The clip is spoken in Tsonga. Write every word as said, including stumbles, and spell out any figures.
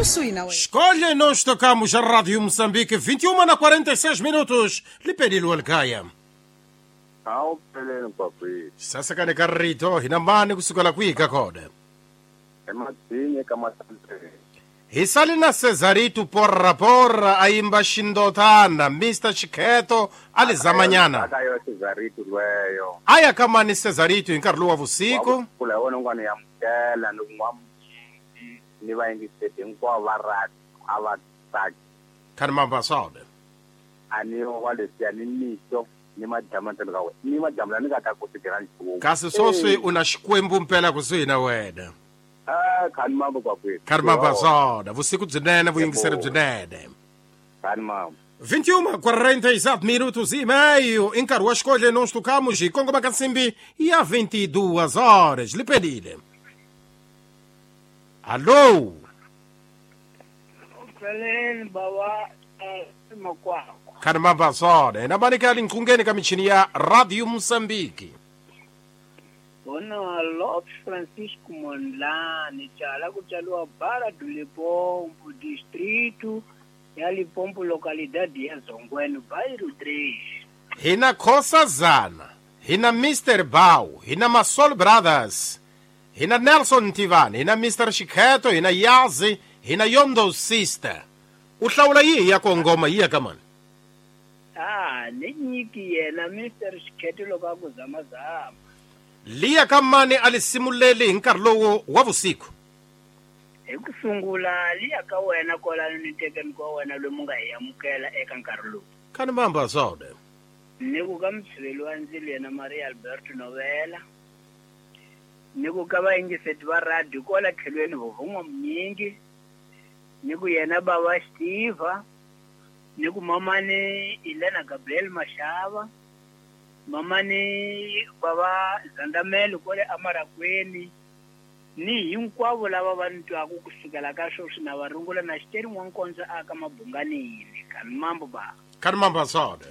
Kusuhi na wena. Escolha, nós tocamos a Rádio Moçambique, vinte e uma na quarenta e seis minutos. Lipelilo Alcaia. Awuphelele kwakwethu. Sasakane karito hina mani kusukela kwihi kona. Emadzinye kaMasantsele. Hi sali na Cesarito porra porra ayimba xindotana Mister Chikheto alizamanyana. Akayo Cesarito lweyo. Aya kamani Cesarito hi nkarhi lowu wa vusiku. Kula wona ngwana ya mukela ni n'wa mjingi ni vayingiseti hinkwavo va radio a va tsaki. Khani mambasode. A ni wa leswiya ni mixo ni madyambu ntsena ka wena. Ni madyambu la ni nga ta ku tirha nchumu. Kasi sweswi u na Xikwembu mpela kusuhi na wena. Ah, khani mambo kwakwethu. Khani mambasode, vusiku byinene, vuyingiseri byinene. Khani mambo. vinte e uma, quarenta e sete minutos e meio. Em nkarhi wa xikodle nós tocamos e kongoma ka nsimbi ya vinte e duas horas. Lipelile. Alô? Uphelele baba makwakwa. Khani mambasode, na mani ka linkhungeni ka michini ya Radio Moçambique. Bona Lopes Francisco Mondlane tshala kutshalwa Barra do Limpopo distrito ya Limpopo localidade ya Zongweno bairro três. Hina Khosa Zana, hina Mister Bau, hina Masol Brothers, hina Nelson Tivani, hina Mister Chikheto, hina Yazi, hina Yondo Sister. U hlawula yihi ya kongoma yi ya ka mani? Ah, ni nyiki yena Mister Chikheto loko a ku zamazama. Liya ka mani a li simuleli hi nkarhi lowu wa vusiku. Hi ku sungula liya ka wena kwalano ni tekeni kwa wena loyi mu nga hi amukela eka nkarhi lowu. Khani mamba sode. Ni ku ka mutshiveli wa ndzilo yena Maria Alberto Novela. Ni ku ka vayingiseti va radio kwala tlhelweni vovon'wa Mnyingi. Ni ku yena baba Steve. Ni ku mamani Elena Gabriel Mashava. Mamani baba Zandamelo kwale Amarakweni. Ni hinkwavo lava va ni twaku kusukela ka sweswi na va rungula na xiteri n'wankondzo aka mabunganini. Khani mambo ba. Khani mamba sode.